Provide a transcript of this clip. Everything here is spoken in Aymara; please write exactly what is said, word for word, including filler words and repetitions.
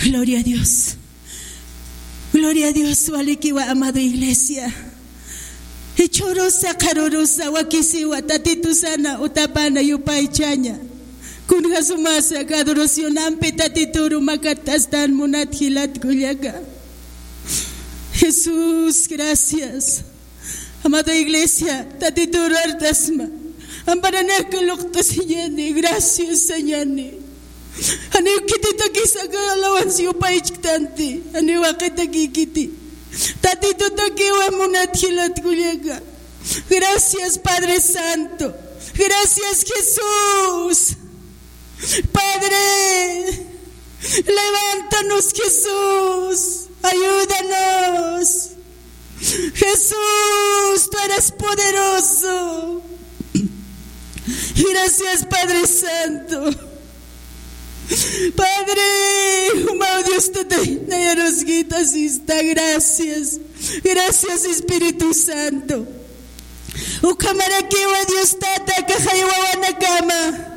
Gloria a Dios. Gloria a Dios, walikiwa, amado iglesia. Jichhürusa, qharürusa, wakisiwa, Tatitusana, utapana, yupaychaña. Kunja sumasa, adoracionampi Tatituru makat'astan munat jilat kullaka. Jesús, gracias. Amada iglesia, Tatituru artasma. Amparanaka luqt'asiñäni, gracias sañäni. Janiw khititakisa aka alabanza yupaychktanti. Janiw jaqitakïkiti. Tatitutakiwa munat jilat kullaka. Gracias, Padre Santo. Gracias, Jesús. Padre, levántanos, Jesús. Ayúdanos. Jesús, tú eres poderoso. Gracias, Padre Santo. Padre, jumaw Dios Tata, nayaruskita sista, gracias. Gracias, Espíritu Santo. Ukhamarakiwa Dios Tata, kajay wawanakama.